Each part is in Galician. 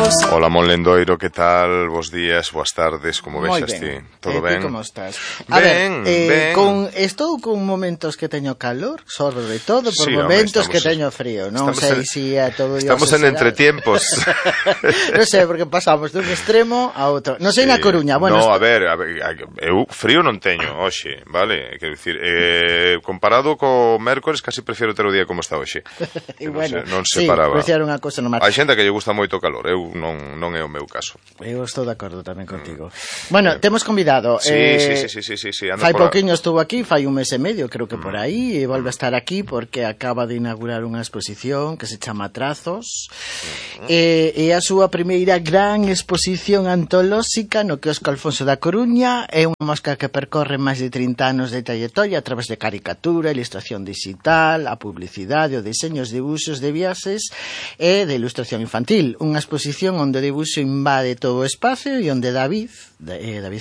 Carlos. Hola, Mon Lendoiro, que tal? Bos días, boas tardes, como vexas ti? Todo ben? Como estás? Ben. Estou con momentos que teño calor, sobre todo por Sí, momentos que teño frío. Non sei se a todo Dios estamos en entretiempos. Non sei, porque pasamos dun extremo a outro. Non sei na Coruña. Bueno, no, a ver, eu frío non teño hoxe, vale? Quero dicir, comparado co mércores, casi prefiero ter o día como está hoxe. E bueno, non separaba. Sí, unha cosa normal. Hai xente que lle gusta moito o calor, eu non é o meu caso. Eu estou de acordo tamén contigo. Bueno, temos convidado. Sí. Fai pouquiño estuvo aquí, fai un mes e medio, creo que por aí, e volve a estar aquí porque acaba de inaugurar unha exposición que se chama Trazos. E a súa primeira gran exposición antolóxica no quiosco Alfonso da Coruña. É unha mostra que percorre máis de 30 anos de trayectoria a través de caricatura, ilustración digital, a publicidade, o deseños, dibuxos de viaxes e de ilustración infantil. Unha exposición onde o dibuxo invade todo o espacio e onde David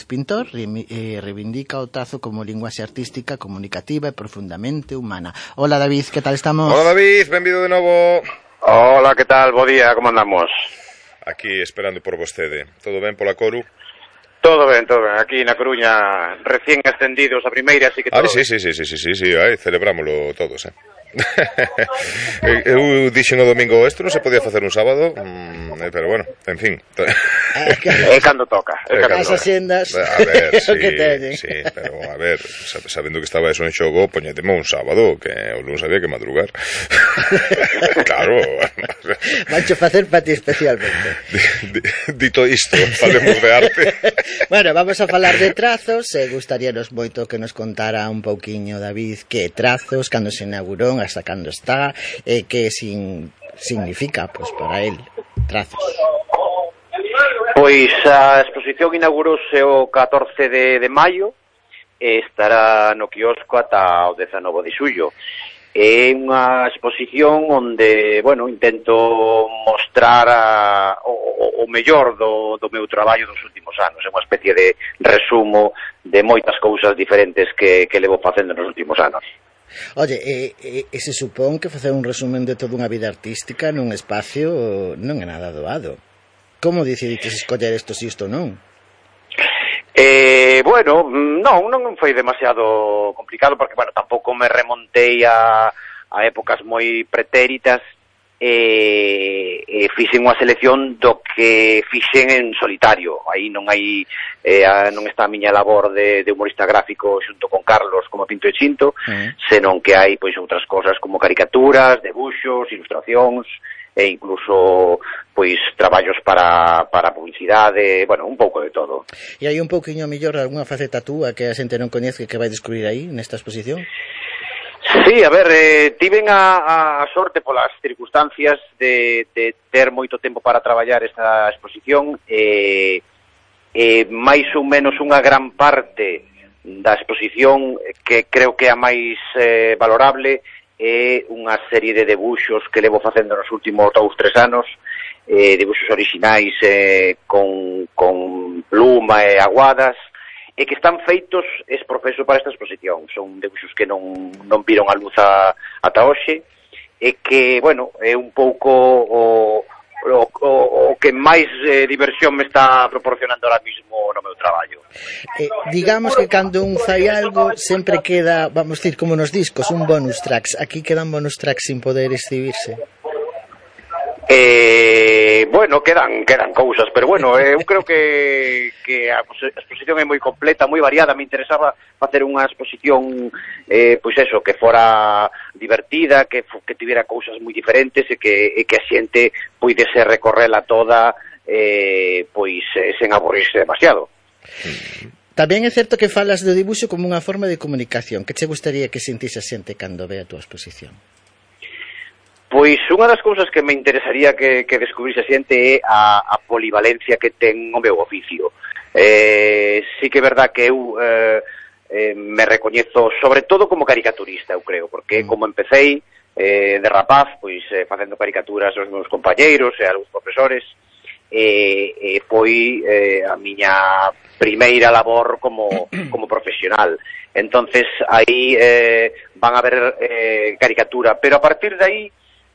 Pintor reivindica o trazo como linguaxe artística, comunicativa e profundamente humana. Hola David, que tal estamos? Hola David, benvido de novo. Hola, que tal? Bo día, como andamos? Aquí esperando por vostede. Todo ben pola Coru? Todo ben. Aquí na Coruña recién ascendidos a primeira, así que todo sí, celebrámoslo todos, Eu dixen o domingo isto non se podía facer un sábado, pero bueno, en fin. É cando toca. As axendas. A ver, sí, pero a ver, sabendo que estaba eso en xogo, poñeteme un sábado, que o lunes había que madrugar. Claro. Vancho facer para ti especialmente. Dito isto, falemos de arte. Bueno, vamos a falar de Trazos. Gustaríanos moito que nos contara un pouquiño, David, que Trazos, cando se inaugurou, hasta cando está, que significa, pues, para él, Trazos. Pois a exposición inaugurouse o 14 de maio e estará no quiosco ata o 19 de xullo. É unha exposición onde, bueno, intento mostrar o mellor do meu traballo dos últimos anos. É unha especie de resumo de moitas cousas diferentes que levo facendo nos últimos anos. Oye, se supón que facer un resumen de toda unha vida artística nun espacio non é nada doado. Como decidites escoller isto si isto non? Bueno, non foi demasiado complicado porque, bueno, tampouco me remontei a épocas moi pretéritas e fixen unha selección do que fixen en solitario. Aí non está a miña labor de humorista gráfico xunto con Carlos como Pinto e Chinto, senón que hai pois outras cosas como caricaturas, debuxos, ilustracións e incluso pois traballos para publicidade, bueno, un pouco de todo. E hai un pouquiño mellor algunha faceta túa que a xente non coñece que vai descubrir aí nesta exposición? Sí, a ver, tiven a sorte polas circunstancias de ter moito tempo para traballar esta exposición e máis ou menos unha gran parte da exposición que creo que é a máis valorable é unha serie de debuxos que levo facendo nos últimos 2-3 anos, debuxos orixinais con pluma e aguadas, e que están feitos exprofeso para esta exposición. Son debuxos que non viron a luz ata hoxe, e que, bueno, é un pouco o que máis diversión me está proporcionando ahora mismo no meu traballo. Digamos que cando un fai algo sempre queda, vamos dicir, como nos discos, un bonus tracks. Aquí quedan bonus tracks sin poder exhibirse. Bueno, quedan cousas, pero bueno, eu creo que a exposición é moi completa, moi variada. Me interesaba facer unha exposición pois eso, que fora divertida, que tivera cousas moi diferentes e que a xente puidese recorrela toda pois sen aburrirse demasiado. Tamén é certo que falas do dibuxo como unha forma de comunicación. Que che gustaría que sentise a xente cando ve a túa exposición? Pois unha das cousas que me interesaría que descubrise a xente é a polivalencia que ten o meu oficio. Sí que é verdad que eu me recoñezo sobre todo como caricaturista, eu creo, porque como empecéi de rapaz, pois facendo caricaturas aos meus compañeiros e a algúns profesores, foi a miña primeira labor como profesional. Entonces aí van a ver caricatura, pero a partir de aí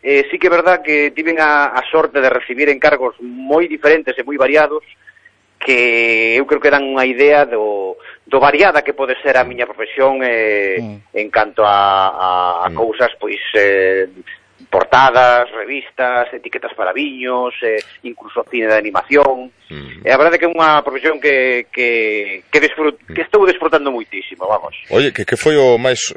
sí que é verdad que tiven a sorte de recibir encargos moi diferentes e moi variados que eu creo que dan unha idea do variada que pode ser a miña profesión en canto a cousas, pois portadas, revistas, etiquetas para viños, incluso cine de animación. A verdade é que é unha profesión que estou desfrutando moitísimo, vamos. Oye, que foi o máis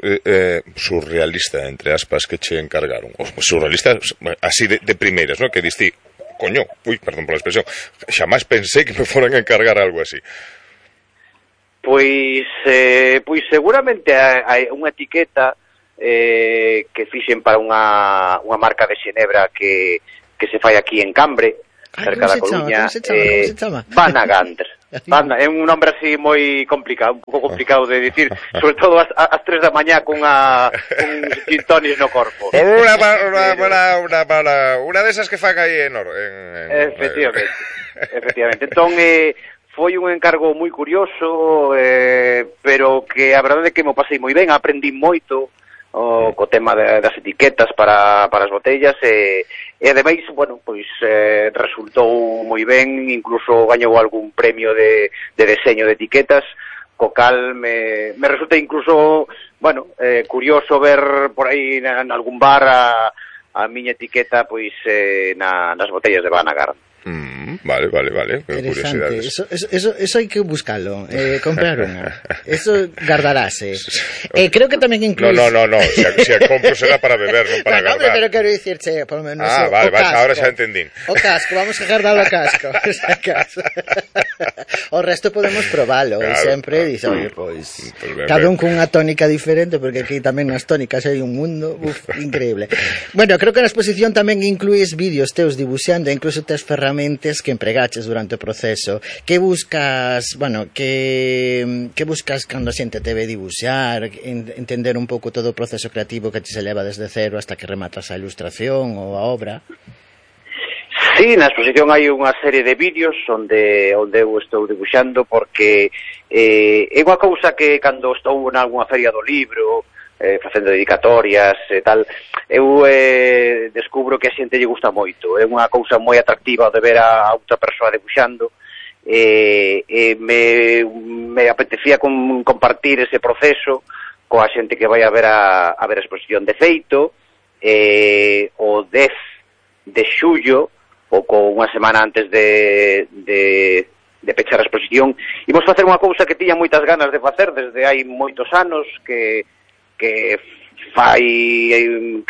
surrealista, entre aspas, que che encargaron? O surrealista, así de primeiras, ¿no? Que diste, coño, perdón por la expresión, xamás pensei que me foran a encargar algo así. Pois seguramente hai unha etiqueta que fixen para unha marca de xenebra que se fai aquí en Cambre, cerca da Coruña. Como se chama? Banagandr. É un nombre así moi complicado, un pouco complicado de dicir, sobre todo ás 3 da mañá con gin tonic no corpo. Una desas que fan aí en Oro. Efectivamente. Entón, foi un encargo moi curioso, pero que a verdade é que me pasei moi ben, aprendí moito co tema das etiquetas para as botellas e ademais, bueno, pois resultou moi ben, incluso gañou algún premio de deseño de etiquetas, co cal me resulta incluso, bueno, curioso ver por aí en algún bar a miña etiqueta pois nas botellas de Banagandr. Vale, interesante, eso hai que buscalo, comprar unha, eso gardarase. Creo que tamén incluís... No, se a compro será para beber, non para guardar. Pero quero dicirche, por lo menos vale, ahora xa entendín. O casco, vamos a guardar o casco. O resto podemos probalo, claro, e sempre dice, oye, pois cada un cunha tónica diferente, porque aquí tamén nas tónicas hai un mundo increíble. Bueno, creo que na exposición tamén incluís vídeos teus dibuxando, incluso tes ferramentas que empregaches durante o proceso. Que buscas, bueno, que buscas cando a xente te ve dibuxar, entender un pouco todo o proceso creativo que te se leva desde cero hasta que rematas a ilustración ou a obra? Sí, na exposición hai unha serie de vídeos onde eu estou dibuxando, porque é unha cousa que cando estou en algunha feria do libro, facendo dedicatorias e tal, eu descubro que a xente lle gusta moito. É unha cousa moi atractiva de ver a outra persoa debuxando, me apetecía compartir ese proceso coa xente que vai a ver a exposición. De feito, o 10 de xullo, ou unha semana antes de pechar a exposición, imos facer unha cousa que tiña moitas ganas de facer desde hai moitos anos, que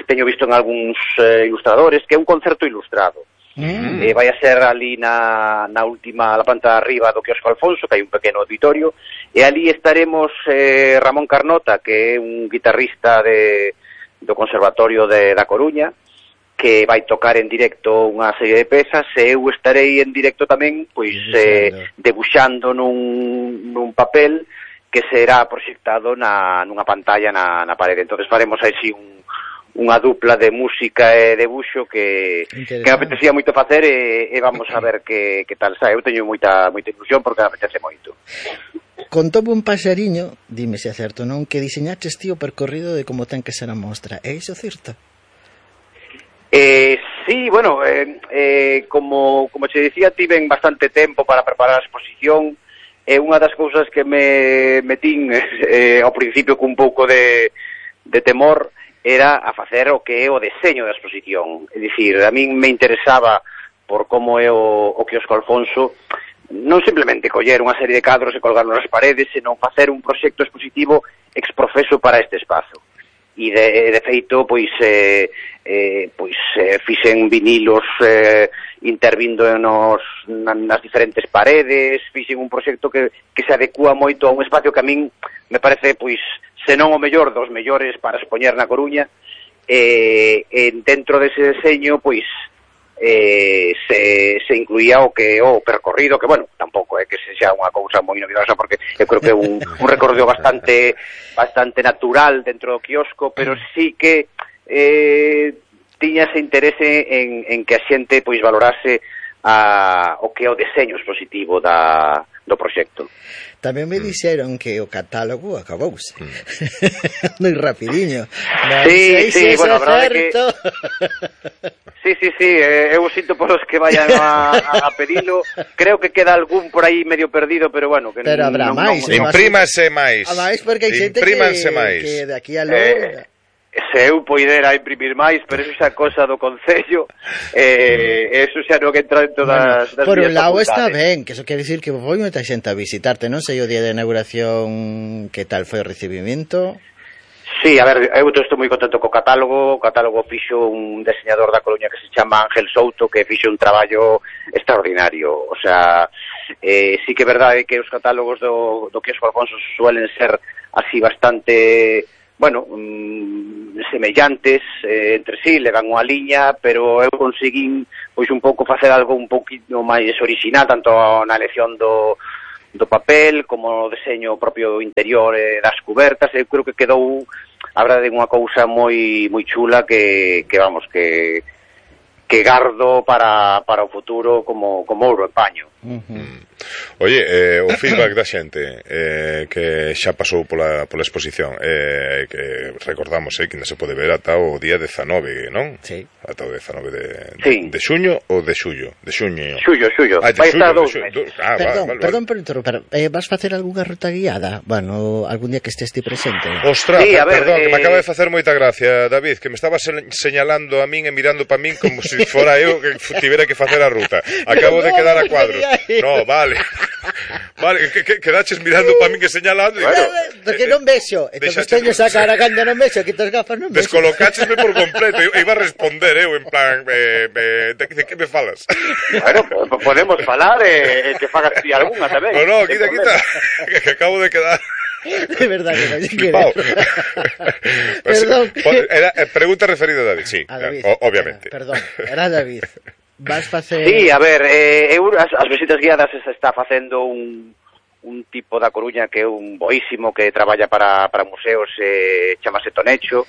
teño visto en algúns ilustradores, que é un concerto ilustrado. Vai a ser ali na planta de arriba do quiosco Alfonso, que hai un pequeno auditorio, e ali estaremos Ramón Carnota, que é un guitarrista do Conservatorio da Coruña, que vai tocar en directo unha serie de pezas, e eu estarei en directo tamén, pois debuxando nun papel que será proxectado nunha pantalla na parede. Entonces faremos así unha dupla de música e debuxo que me apetecía moito facer, e vamos a ver que tal sai. Eu teño moita ilusión porque me apetece moito. Contoume un paxariño, dime se é certo, non, que diseñaches ti o percorrido de como ten que ser a mostra. É iso certo? Sí, bueno, como che dicía, tiven bastante tempo para preparar a exposición. É unha das cousas que me metín ao principio cun pouco de temor, era a facer o que é o deseño da exposición. É dicir, a min me interesaba, por como é o quiosco Alfonso, non simplemente coller unha serie de cadros e colgarlos nas paredes, senón facer un proxecto expositivo exprofeso para este espazo. E de feito, fixen vinilos intervindo nas diferentes paredes, fixen un proxecto que se adecua moito a un espacio que a min me parece, senón o mellor dos mellores para expoñer na Coruña, dentro dese deseño, se incluía o percorrido, que, bueno, tampouco é que sexa unha cousa moi novedosa, porque eu creo que é un recorrido bastante natural dentro do quiosco, pero sí que tiña ese interese en que a xente valorase o que é o deseño expositivo do proxecto. Tamén me dixeron que o catálogo acabouse. Moi rapidiño. Sí, bueno, a verdade que... Sí, eu sinto polos que vayan a pedilo. Creo que queda algún por aí medio perdido, pero bueno, que pero habrá máis. Imprímase máis. A máis porque hai xente que de aquí a logo... Se eu poidera imprimir máis, pero eso xa cosa do Concello, eso xa non entra en todas as por un lado está ben, que eso quere dicir que foi moita xente a visitarte, non sei o día de inauguración que tal foi o recibimento. Sí, a ver, eu estou moi contento co catálogo. O catálogo fixo un diseñador da Coruña que se chama Ángel Souto, que fixo un traballo extraordinario. O sea, sí que é verdade que os catálogos do Quiosco Alfonso suelen ser así bastante... bueno, semellantes entre sí, levan unha liña, pero eu conseguín pois un pouco facer algo un pouquinho máis orixinal, tanto na elección do papel como no deseño propio interior das cubertas. Eu creo que quedou, a verdade, unha cousa moi chula que vamos, que gardo para o futuro como ouro en paño. Oye, o feedback da xente que xa pasou pola exposición, que recordamos que ainda se pode ver ata o día 19, non? Sí. Ata o 19 de xuño ou de xullo? De xuño. Xullo. Vai estar 2 meses. Perdón por interromper. Vas facer algunha ruta guiada? Bueno, algún día que estés ti presente. Ostras, sí, perdón, que me acaba de facer moita gracia, David, que me estaba señalando a min e mirando pa min como se fora eu que tivera que facer a ruta. Acabo de quedar a cuadros. No, vale. Vale, que quedaches mirando para min que señalando. Porque non vexo. Entón teño esa cara cando non vexo, que tes gafas non vexo. Descolocáchesme por completo. Eu iba a responder, en plan, de que me falas? Bueno, podemos falar que fagas ti algunha tamén. No, quita. Que acabo de quedar... De verdad que non quero. Perdón. Era pregunta referida a David, sí. A David. Obviamente. Perdón, era David. Vas facer... Sí, a ver, as visitas guiadas se está facendo un tipo da Coruña que é un boísimo que traballa para museos, chamase Tonecho,